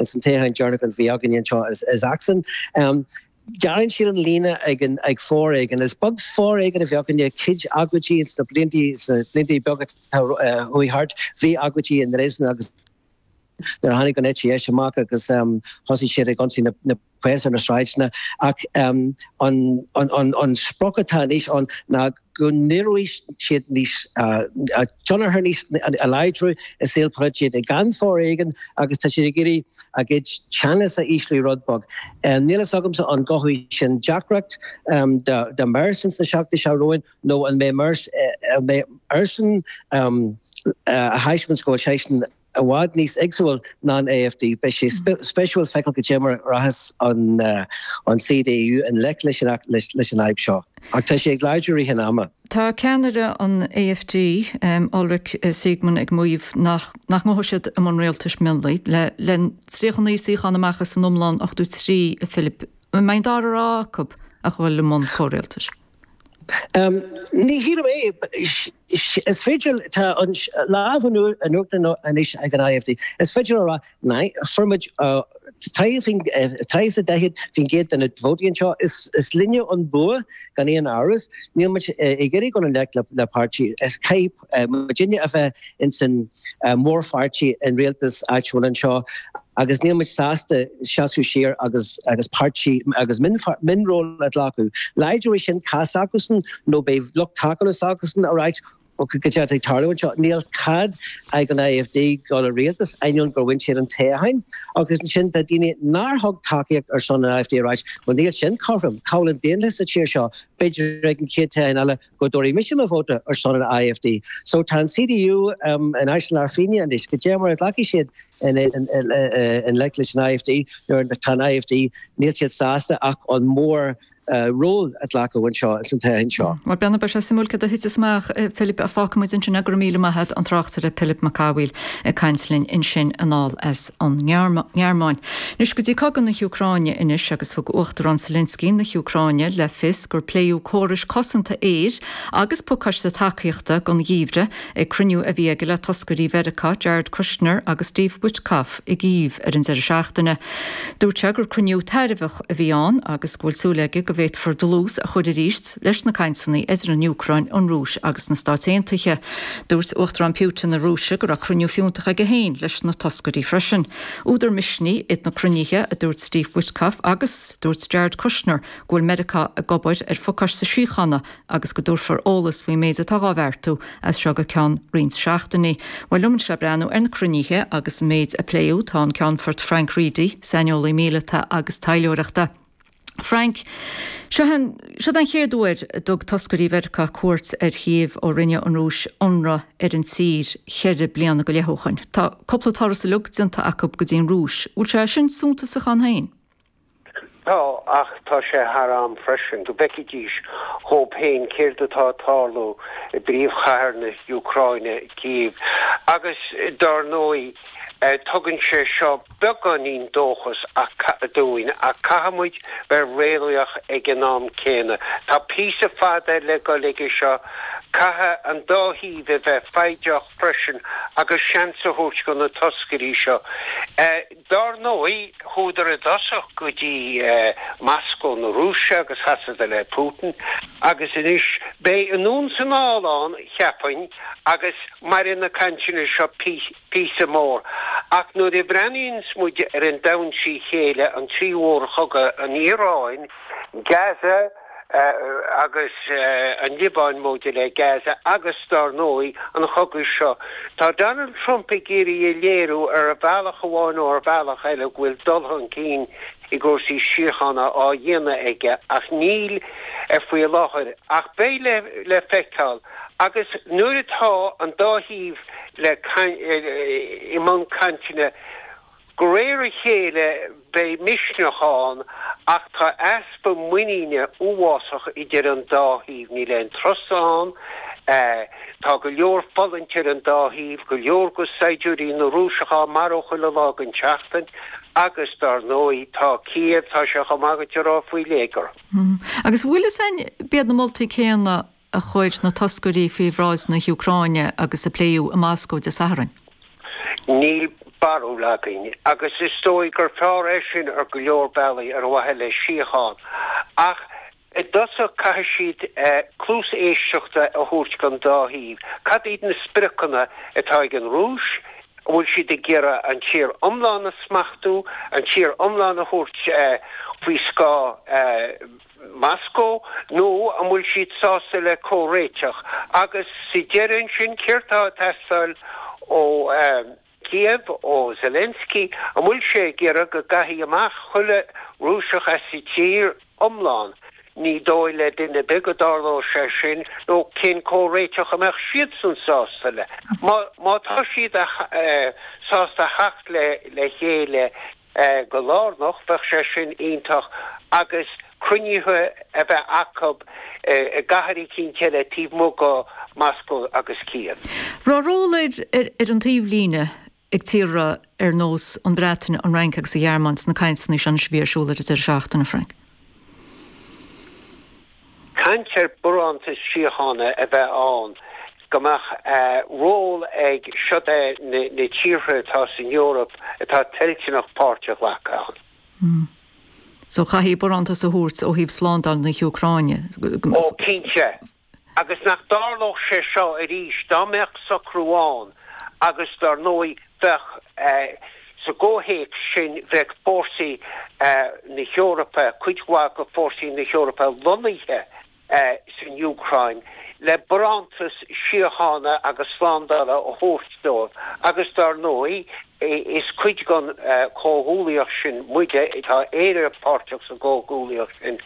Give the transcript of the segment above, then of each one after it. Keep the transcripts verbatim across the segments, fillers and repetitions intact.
ins an toghchán deireanach a bhí againn anseo i, i Sachsen. Um, Gearrann siad an líne ag an ag foréigean is beag foréigean a bhí againne cuid agóidí sna blianta sna blianta beaga chuaigh thart bhí agóidí in Dresden agus nuair a tháinig an eite dheis amach agus um, thosaigh siad ag ionsaí na, na póilíní ar na sráideanna ach um, an, an, an, an sprioc atá anois ann ná go n-éireoidh siad níos tionchar níos a láidriú i saol polaitíochta gan foréigean agus tá siad ag iarraidh a gcuid teannas a ísliú rud beag. Um, Níl a fhios agamsa an gcothóidh sin deacracht um, do Merz sna seachtainí seo romhainn nó an mbeidh Merz uh, mbeidh airsean um, uh, a thaispeáint go bhfuil seisean i bhfad níos éagsúil ná an AfD Beidh sé spéisiúil feiceáil goidé mar a rachas an uh, an CDU i ngleic leis an leis, leis an fhadhb seo. Ach tá sé ag láidriú i rith an ama. Tá ceannaire an AfD um, Ulrich uh, Siegmann ag maíomh nach nach ngabhfaidh siad i mbun rialtais mionlaigh le le tríocha naoi suíochán amach as an iomlán ochtó trí a Philip mbeidh an dara rogha acu a dhul i mbun comhrialtais. Um, ní hí é is féidir tá an lámh in uachtar anois ag an AfD. Is féidir rá fuair trí daichead faoin gcéad de na vótaí anseo is, is linne an bua gan aon amhras níl muid ag iarraidh dul i ngleic le, le páirtí is caithfidh muidinne a bheith in san mórpháirtí an rialtas áitiúil anseo agus níl muid sásta seasamh siar agus agus páirtí agus mionról a ghlacadh. Láidreoidh sin cás acusan nó beidh lucht tacaíochta acusan a ráit go ag tarlú seo níl cead ag an AfD dul i rialtas ainneoin gur bhain siad an toghchán agus ansin tá daoine nár thug tacaíocht ar son an AfD ráit well níl sin cothrom cá bhfuil an daonlathas sa tír seo b'fhéidir ag an chéad toghchán eile go dtabharfaidh mise mo vóta ar son an AfD. So tá an CDU um, in áis lar fine anois goidé mar a ghlacfaidh siad i ngleic leis an AfD nuair tá an AfD níl siad sásta ach an mór uh, ról a ghlacadh anseo san toghchán seo. Mar b'fhéidir beidh sé suimiúil cad a thitfeas amach Philip a fágfaimid ansin go raibh míle maith agat an tráchtaire Philip Mac Cathmhaoil ag caint linn ansin anall as an nGearmáin. Anois go dtí cogadh na hÚcráine anois agus thug Uachtarán Zelensky na hÚcráine le fios gur pléadh córais cosanta aeir agus pacáiste tacaíochta don gheimhreadh ag cruinniú a bhí aige le toscairí Mheiriceá Jared Kushner agus Steve Witkoff i gCív ar an deireadh seachtaine. Dúirt sé gur cruinniú tairbheach a bhí ann agus go bhfuil súil aige go bhféadfar dlús a chur arís leis na cainteanna idir an Úcráin an Rúis agus na Stáit Aontaithe. Dúirt Uachtarán Putin na Rúise go raibh cruinniú fiúntach aige féin leis na toscairí freisin. Údar misnigh iad na cruinnithe a dúirt Steve Witkoff agus dúirt Jared Kushner go bhfuil Meiriceá ag obair ar phacáiste síochána agus go dtabharfar eolas faoin méid atá á bheartú as seo go ceann roinnt seachtainí. Well liom le breathnú ar na cruinnithe agus an méid a pléadh tá an Ceannfort Frank Reidy, saineolaí míleata agus taidhleoireachta. Frank, seo an chéad uair a dtug toscairí Mheiriceá cuairt ar Chív ó rinne an Rúis ionradh ar an tír ceithre bliana go leith ó shin. Tá cúpla turas uilig déanta acu go dtí an Rúis, bhfuil sé sin suntasach ann féin? Tá ach tá sé thar am freisin go bhfeicfidís dhóibh féin céard atá ag tarlú i bpríomhchathair na hÚcráine Cív agus dar ndóigh tugann sé seo beagáinín dóchas dúinn ach caithfimid bheith réalaíoch ag an am céanna. Tá píosa fada le dul aige seo caithfidh an dá thaobh a bheith foighdeach freisin agus seans a thabhairt do na toscairí seo. Dar ndóigh chuadar i dtosach go dtí Moscó na Rúise agus sheasadar le Putin agus anois beidh anonn is anall ann cheapfainn agus mairfidh na cainteanna seo píosa mór. Ach nuair a bhreathnaíonns muid ar an domhan trí chéile an trí mhórchogadh an Iaráin, Gaza agus an Liobáin móide le Gaza agus dar ndóigh an chogadh seo. Tá Donald Trump ag iarraidh a léiriú ar bhealach amháin nó ar bhealach eile go bhfuil dul chun cinn i gcúrsaí síochána á dhéanamh aige ach níl ar faoi láthair ach beidh le le feiceáil agus nuair atá an dá thaobh le i mbun cainteanna de réir a chéile beidh misneach ann ach tá easpa muiníne uafásach idir an dá thaobh níl aon trust ann tá go leor fulaingt ar an dá thaobh go leor go saighdiúirí na Rúiseacha marbh chuile lá den tseachtain agus dar ndóigh tá Cív tá sé chomh maith go rá faoi léigear. Agus bhfuil is ein b'iad na moltaí céanna a chuir na toscairí faoi bhráid na hÚcráine agus a pléadh i Moscó Dé Sathairn. Níl barúil againn agus is dóigh gur fearr é sin ar go leor bealaí ar mhaithe le síocháin. Ach i dtosach caithfidh siad cluas éisteachta a thabhairt don dá thaobh. Cad iad na spriocanna atá ag an Rúis? An bhfuil siad ag iarraidh an tír iomlán a smachtú, an tír iomlán a thabhairt faoi scáth Moscó nó an bhfuil siad sásta le comhréiteach? Agus sa deireadh ansin, céard atá ag teastáil ó Kiev, ó Zelensky? An bhfuil sé ag iarraidh go gcaithfí amach chuile Rúiseach as an tír iomlán? Ní dóigh le duine ar bith go dtarlódh sé sin, nó cén comhréiteach a mbeadh siadsan sásta le? Má tá siad sásta theacht le chéile go lárnach, bheadh sé sin iontach agus cruinnithe a bheith acu i gcathair eicínt eile taobh amuigh de Moscow agus Kiev. Raibh ról ar an taobhlíne ag tíortha ar nós an Bhreatain, an Fhrainc agus an Ghearmáin sna cainteanna seo anois a bhí ar siúl ar an deireadh seachtaine, Frank? Caint ar barántas síochána a bheith ann, go mbeadh ról ag siod é na tíortha atá san Eoraip atá toilteanach páirt a ghlacadh ann. So chaithfí barántas a thabhairt ó thaobh slándáil na hÚcráine. Ó cinnte. Agus nach dtarlódh sé seo arís dá mbeadh socrú ann agus dar ndóigh bheadh sa gcomhthéacs sin bheadh fórsaí na hEorpa, cuid mhaith de fórsaí na hEorpa lonnaithe san Úcráin le barántas síochána agus slándála a thabhairt dóibh agus dar ndóigh is cuid den chomhghuaillíocht sin muide, tá Éire páirteach sa gcomhghuaillíocht sin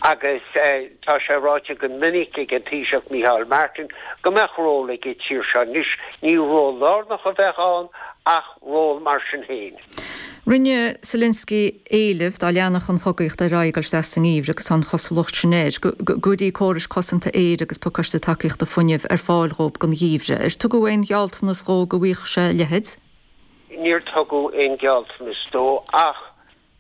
agus tá sé ráite go minic ag an Taoiseach Micheál Martin go mbeadh ról ag an tír seo. Anois ní ról lárnach a bheadh ann ach ról mar sin féin. Rinne Zelensky éileamh dá leanfadh an chogaíocht ar aghaidh ag dul isteach sa ngeimhreadh agus tá an chosúlacht sin air, go gcuirfí córais cosanta aeir agus pacáiste tacaíochta fuinnimh ar fáil dhóibh don gheimhreadh. Ar tugadh aon ghealltanas dhó go bhfaigheadh sé a leithéid? Níor tugadh aon ghealltanas dó ach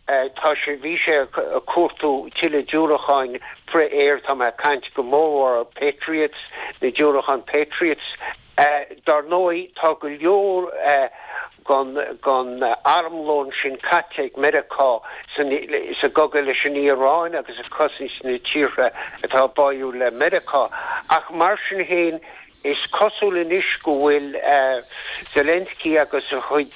tá sé, bhí sé ag cuartú tuilleadh diúracáin frith-aeir, tá mé ag caint go mórmhór ar Patriots, na diúracáin Patriots. Dar ndóigh, tá go leor den armlón sin caite ag Meiriceá sa gcogadh leis an Iaráin agus ag cosaint na tíortha atá báúil le Meiriceá. Ach mar sin féin, is cosúil anois go bhfuil Zelensky agus a chuid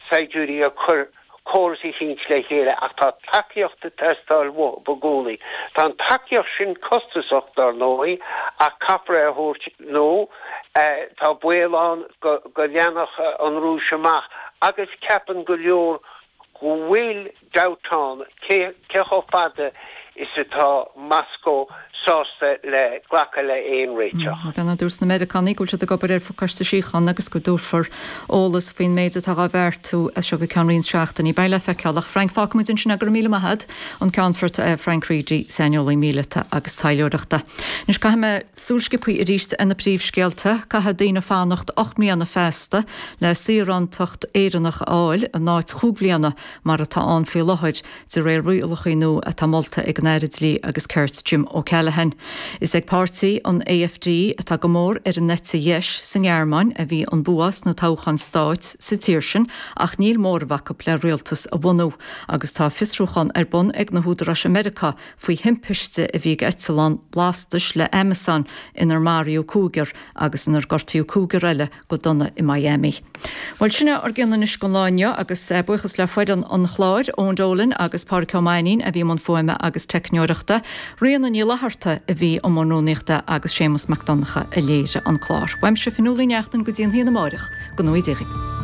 saighdiúirí ag cur córas eicínt le chéile ach tá tacaíocht ag teastáil uathu i gcónaí. Tá an tacaíocht sin costasach, dar ndóigh, ach caithfear é a thabhairt nó tá baol ann go leanfadh an Rúis amach agus ceapann go leor go bhfuil dabht ann cé chomh fada is atá Moscó sásta le glacadh le haon réiteach. Bhuel, dúirt na Meiriceánaigh go bhfuil siad ag obair ar phacáiste síochána agus go dtabharfar eolas faoin méid atá á bheartú as seo go ceann roinnt seachtainí. Beidh le feiceáil. Ach Frank, fágfaimid ansin é. Go raibh míle maith agat, an Ceannfort Frank Reidy, saineolaí míleata agus taidhleoireachta. Anois caithfidh mé súil sciobtha arís ar na príomhscéalta. Caithfidh daoine fanacht ocht mbliana feasta le saorántacht Éireannach a fháil in áit chúig bhliana mar atá ann faoi láthair, de réir rialacha nua atá molta ag an Aire Dlí agus Cirt Jim O'Callaghan. Is ag páirtí an AfD, atá go mór ar an eite dheis sa nGearmáin, a bhí an bua sna toghcháin stáit sa tír sin ach níl móramh acu le rialtas a bhunú agus tá fiosrúchán ar bun ag na húdaráis i Meiriceá faoi thimpiste a bhí ag eitleán lastais le Amazon inar maraíodh cúigear agus inar gortaíodh cúigear eile go dona i Miami. Bhuel, sin é ár gcion anois don lá inniu agus buíochas le foireann an chláir, Eoin Dolan agus Pádraic Ó Mainnín a bhí i mbun fuaime agus teicneoireachta, Ríona Ní Fhlatharta a bhí i mbun rúnaíochta agus Séamus Mac Donncha a léirigh an clár. Uaimse Fionnuala Ní Neachtain go dtí an hAoine amáireach, go ngnóthaí Dia dhaoibh.